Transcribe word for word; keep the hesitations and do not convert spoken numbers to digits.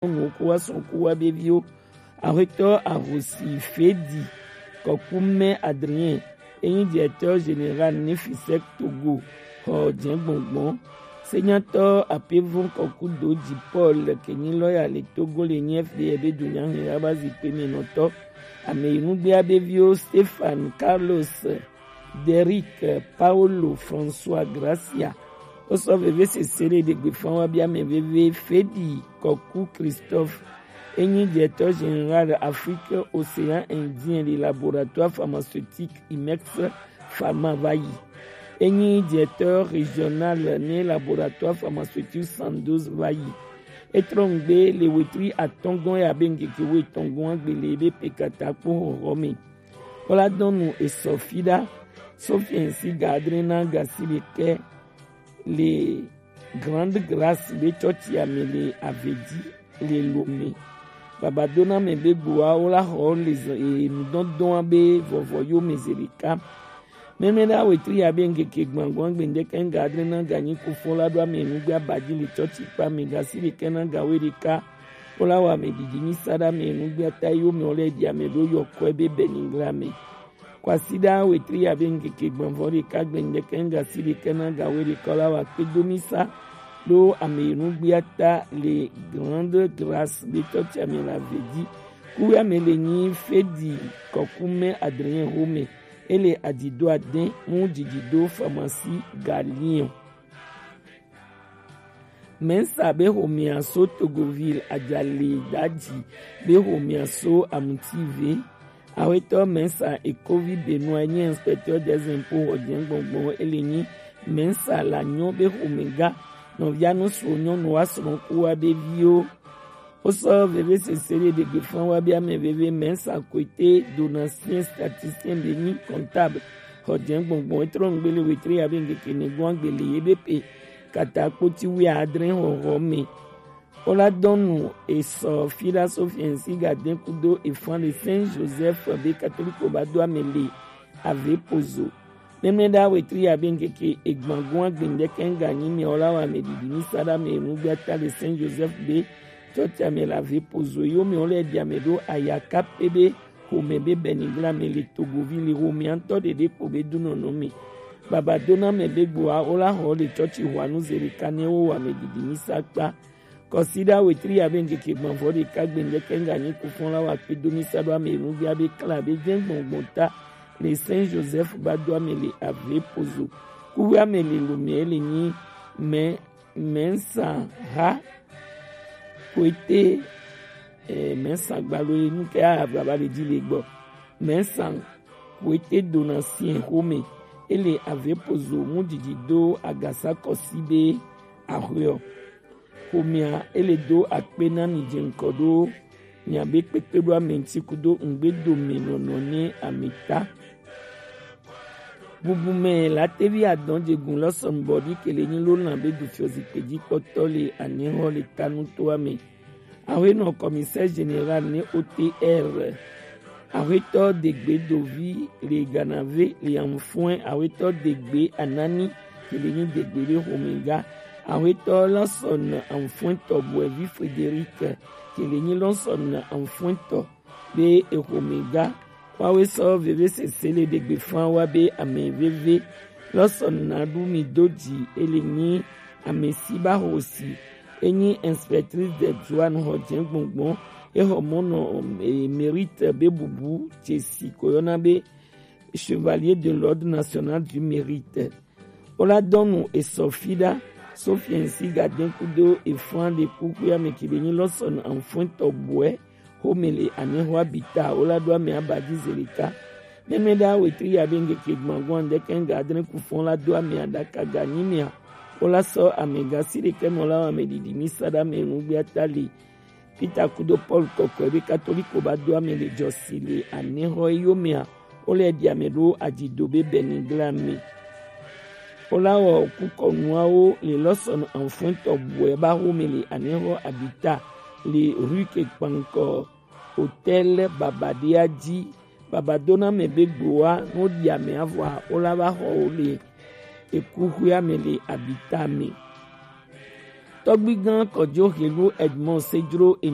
nyɔnuwo ku wa srɔ̃ ku wa be viwo. Axwetɔ Ahosi Fedi Kɔkume Adrien, enyi directeur général Nefisec Togo xɔ jɛngbɔngbɔn. Senyatɔ Apevon Kɔkudoji Paul, ke nyi lɔya le Togo, le nyi F D R be dunyahe aba zikpui me nɔtɔ. Ame yi nugbea be viwo Stefan, Carlos, Derrick, Paulo, François, Gracia. Wosɔ vevesese le ɖegbefa wa be ame veve Fedi Kɔku Christophe, enyi directeur général Afrique Océan Indien le laboratoire pharmaceutique Imex Pharma va yi. Enyi directeur régional ne laboratoire pharmaceutique Sandoz va yi. Etrɔ ŋgbe le wetri atɔngɔn ya be ŋkeke wetɔngɔn agbele be pekata kpo xɔxɔ me. Wala dɔnu esɔ fi ɖa. Sofiɛn si ga adre na gasi ɖekɛ le Grande Grâce be tsɔtsi ame le Avedi le Lome. Babadona me be gboa wala xɔ le enudɔdɔn be vɔvɔ yo me ze ɖeka. Mɛmɛ ɖe awetri ya be ŋkeke gbãgbɔn gbendeke ŋga adre na ga nyi kufɔ la ɖo ame nugbe abadzi le tsɔtsi kpa me gasi ɖekɛ na ga we ɖeka. Wala wa me didi mi sa ɖa me nugbe ata yo me wole di ame ɖo yɔ kɔe be Benigla me. Kwasiɖa wetri ya be ŋkeke gbãvɔ ɖeka gbendeke ŋga si ɖeke na ga we ɖeka la wa kpe do mi sa ɖo ame nugbe ata le Grande Grâce be tsɔtsi ame la vedi. Kuwe ame le nyi Fedi Kɔkume Adrien Home. Ele adido adin mu didido pharmacie Galion. Mensa be homea so Togoville ajali daji be homea so amutive. Awetɔ Mensa Ekovi Benoit nye inspecteur des impôts hɔjɛngbɔngbɔn ele nyi Mensa la nyɔ be homega nɔvia nu so nyɔnu wa srɔ̃ ku wa be viwo. Wosɔ vevesese ɖe ɖegbefa wa be ame veve Mensa Koete Donatien statisticien be nyi comptable xɔ jɛngbɔngbɔn etrɔ ŋgbe le wetri ya be ŋkeke nɛgbɔn agbele ye be pe kata kpoti wi adre xɔxɔ me. Wola dɔnu esɔ fila Sofiɛn si ga de kudo efan le Saint Joseph be katoliko ba do ame le ave pozo. Mɛmɛ ɖa wetri ya be ŋkeke egbangun agbendeke ŋga nyi mia wola wa me didi mi sa ɖa me enu gbe ata le Saint Joseph be tsɔtsi ame la ve pozo yo me wole di ame ɖo ayaka pe be xome be Benigla me le Togovi le xome antɔ ɖeɖe kpo be dunɔnɔ me. Baba dona me be gboa wola xɔ le tsɔtsi hwanu ze ɖeka ne wo wa me didi mi sa kpa. Kɔsiɖa wetri ya be ŋkeke gbɔnvɔ ɖeka gbendeke ŋga nyi kufɔn la wa kpe do mi sa ɖo ame enu gbe abe kla be jɛ gbɔngbɔn ta le Saint Joseph ba do ame le ave pozo. Kuwe ame le lome le nyi mɛ Mensa ha koete, eh, Mensa gbalo ye nu ke a va ba le di le gbɔ. Mensa koete dona si en xome. Ele ave pozo mu didi do agasa kɔsi be axɔe ɔ. Xomea ele do akpe na mi je ŋkɔ ɖo miabe kpekpeɖoa me ŋuti kudo ŋgbedomenɔnɔ ne amita. Bubu me la tevi adɔn jegun lɔsɔn bɔdi kele nyi lo lan be du fiɔ zikpe ji kpɔtɔ le anehɔ le tanu toa me. Awenɔ commissaire général ne O T R. Ahuetɔ Degbe Dovi le Ganave le Anfɔe, Ahuetɔ Degbe Anani, ke le nyi Degbe be xomega, Ahuetɔ Lɔsɔn Anfɔetɔ Boevi Frederic, ke le nyi Lɔsɔn Anfɔetɔ be exomega. Wawe sɔ veve sese le ɖegbe fan wa be ame veve Lɔsɔn Nadu mi do ji, ele nyi ame si ba hosi. Enyi inspectrice des douanes xɔ jɛngbɔngbɔn, exɔ mɔnɔ, eh, mérite be bubu jesi ko yɔna be chevalier de l'ordre national du mérite. Wola dɔnu esɔ fi ɖa, Sofiɛn si ga de kudo efan le kuku ya me ki be nyi Lɔsɔn Anfɔetɔ Boe, xome le anehɔ abita, wola ɖo ame aba ji ze ɖeka. Mɛmɛ ɖa wetri ya be ŋkeke gbɔngbɔn ɖeke ŋga adre kufɔn la do ame aɖaka ga nyi mia. Wola sɔ ame ga si ɖeke mɔ la wa me didi mi sa ɖa me nugbe ata li. Peter kudo Paul kɔkɔe be katoliko ba do ame le jɔsi le anehɔ eyo mea. Wole ɖi ame ɖo adzido be Benigla me. Wola wɔ kukɔnuawo le Lɔsɔn Anfɔetɔ Boe ba xome le anehɔ abita le rue ke kpankɔ Hôtel Babadea ji. Baba dona me be gboa no ɖi ame avɔa wola va xɔ wo le ekuxuea me le abita me. Tɔgbigan Kɔjo Helu Edmond Sejro enya.